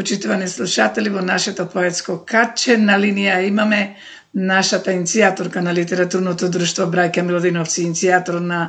Почитувани слушатели, во нашето поетско каче на линија имаме нашата иницијаторка на литературното друштво Браќа Милодиновци, иницијатор на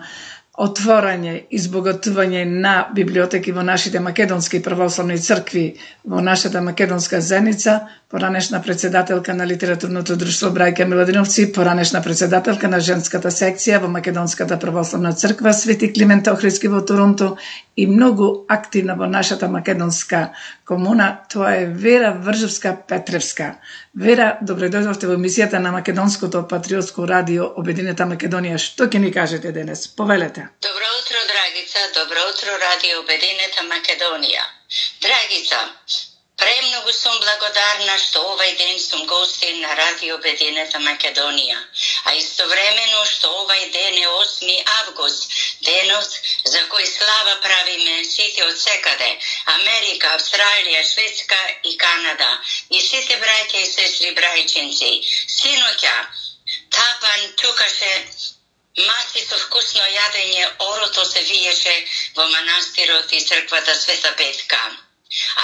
отворање и збогатување на библиотеки во нашите македонски православни цркви во нашата македонска заедница, поранешна председателка на литературното друштво Браќа Милодиновци, поранешна председателка на женската секција во Македонската православна црква Свети Климент Охридски во Торонто и многу активна во нашата македонска комуна, тоа е Вера Вржевска-Петревска. Вера, добре дојдовте во емисијата на Македонското патриотско радио Обединета Македонија. Што ќе ни кажете денес? Повелете. Добро утро, Драгица. Добро утро, радио Обединета Македонија. Драгица, премногу сум благодарна што овај ден сум гостин на радио Обединета Македонија, а истовремено што овај ден е 8 август, денот за кој слава правиме сите од секаде, Америка, Австралија, Шведска и Канада, и сите браќа и сестри брајчинци. Синоќа, тапан тукаше маси со вкусно јадење, орото се виеше во манастирот и црквата Света Петка.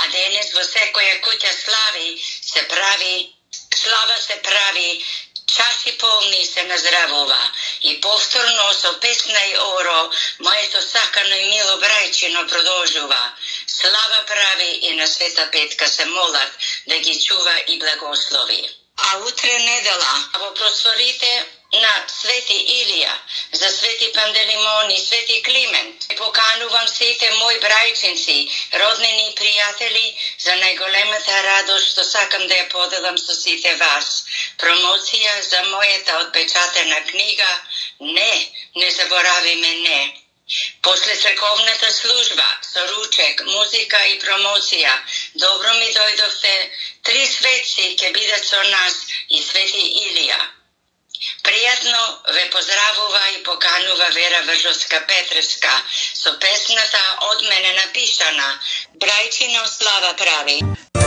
А денес во секоја куќа слава се прави, чаши полни се наздравува. И повторно со песна и оро, моето сакано и мило брајчино продолжува. Слава прави и на Света Петка се молат да ги чува и благослови. А утре недела, во просторите на Свети Илија, за Свети Пантелеймон и Свети Климент, поканувам сите мои брајчинци, роднини и пријатели за најголемата радост што сакам да ја поделам со сите вас. Промоција за мојата отпечатена книга Не заборавиме не. После црковната служба со ручек, музика и промоција, добро ми дојдовте, 3 светци ќе бидат со нас и Свети Илија. Пријатно ве поздравува и поканува Вера Вржевска-Петревска со песната од мене напишана Брајчино слава прави.